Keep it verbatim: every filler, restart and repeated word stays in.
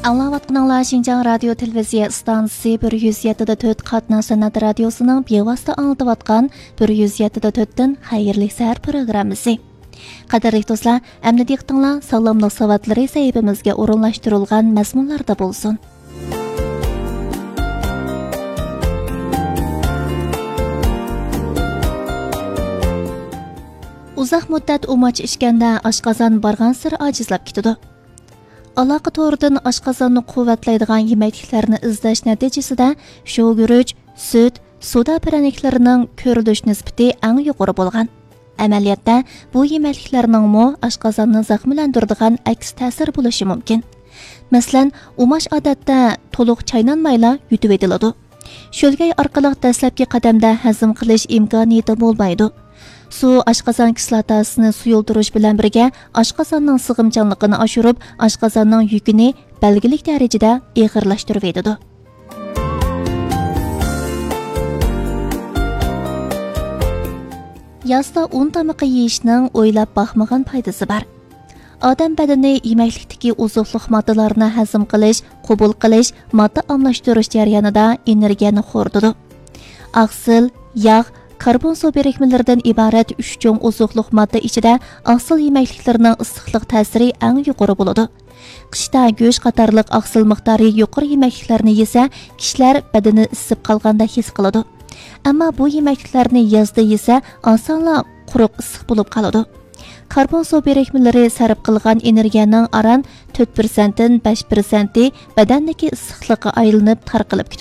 ئاڭلاۋاتقىنىڭلار شىنجاڭ رادىيو تېلېۋىزىيە ئىستانسىسى بىر يۈز يەتتە دە تۆت قاتناش سەنئەت رادىيوسىنىڭ بىۋاسىتە ئاڭلىتىۋاتقان بىر يۈز يەتتە دە تۆتتىن خەيرلىك سەھەر پروگراممىسى. قەدىرلىك دوستلار، ئەمدى دىققىتىڭلار ساغلاملىق ساۋاتلىرى سەھىپىمىزگە ئورۇنلاشتۇرۇلغان مەزمۇنلاردا بولسۇن. ئۇزاق مۇددەت ئۇماچ ئىچكەندە ئاشقازان بارغانسېرى ئاجىزلاپ كېتىدۇ. ئالاقە تورىدىن ئاشقازاننى قۇۋۋەتلەيدىغان يېمەكلىكلەرنى ئىزدەش نەتىجىسىدە، شوۋىگۈرۈچ، سۈت، سودا پىرەنىكلىرىنىڭ كۆرۈلۈش نىسبىتى ئەڭ يۇقىرى بولغان. ئەمەلىيەتتە، بۇ يېمەكلىكلەرنىڭمۇ ئاشقازاننى زەخىملەندۈرىدىغان ئەكس تەسىرى بولۇشى مۇمكىن. مەسىلەن، ئۇماچ ئادەتتە تولۇق چاينانمايلا يۇتۇۋېتىلىدۇ. شۆلگەي ئارقىلىق دەسلەپكى قەدەمدە ھەزىم قىلىش ئىمكانىيىتى بولمايدۇ. سۇ ئاشقازان كىسلاتاسىنى سۇيۇلدۇرۇش بىلەن بىرگە، ئاشقازاننىڭ سىغىمچانلىقىنى ئاشۇرۇپ، ئاشقازاننىڭ يۈكىنى بەلگىلىك دەرىجىدە ئېغىرلاشتۇرۇۋېتىدۇ. يازدا ئۇن تامىقى يېيىشنىڭ ئويلاپ باقمىغان پايدىسى بار. ئادەم بەدىنى يېمەكلىكتىكى ئوزۇقلۇق ماددىلارنى ھەزىم قىلىش، قوبۇل قىلىش، ماددا ئالماشتۇرۇش جەريانىدا ئېنېرگىيەنى خورىتىدۇ. ئاقسىل، ياغ، كاربون سۇ بىرىكمىلىرىدىن ئىبارەت ئۈچ چوڭ ئوزۇقلۇق ماددا ئىچىدە ئاقسىل يېمەكلىكلىرىنىڭ ئىسسىقلىق تەسىرى ئەڭ يۇقىرى بولىدۇ. قىشتا گۆش قاتارلىق ئاقسىل مىقدارى يۇقىرى يېمەكلىكلەرنى يېسە، كىشىلەر بەدىنى ئىسسىپ قالغاندەك ھېس قىلىدۇ. ئەمما بۇ يېمەكلىكلەرنى يازدا يېسە، ئاسانلا قۇرۇق ئىسسىق بولۇپ قالىدۇ. كاربون سۇ بىرىكمىلىرى سەرپ قىلغان ئېنېرگىيەنىڭ ئاران تۆت پىرسەنتتىن بەش پىرسەنتى بەدەندىكى ئىسسىقلىققا ئايلىنىپ تارقىلىپ كېتىدۇ.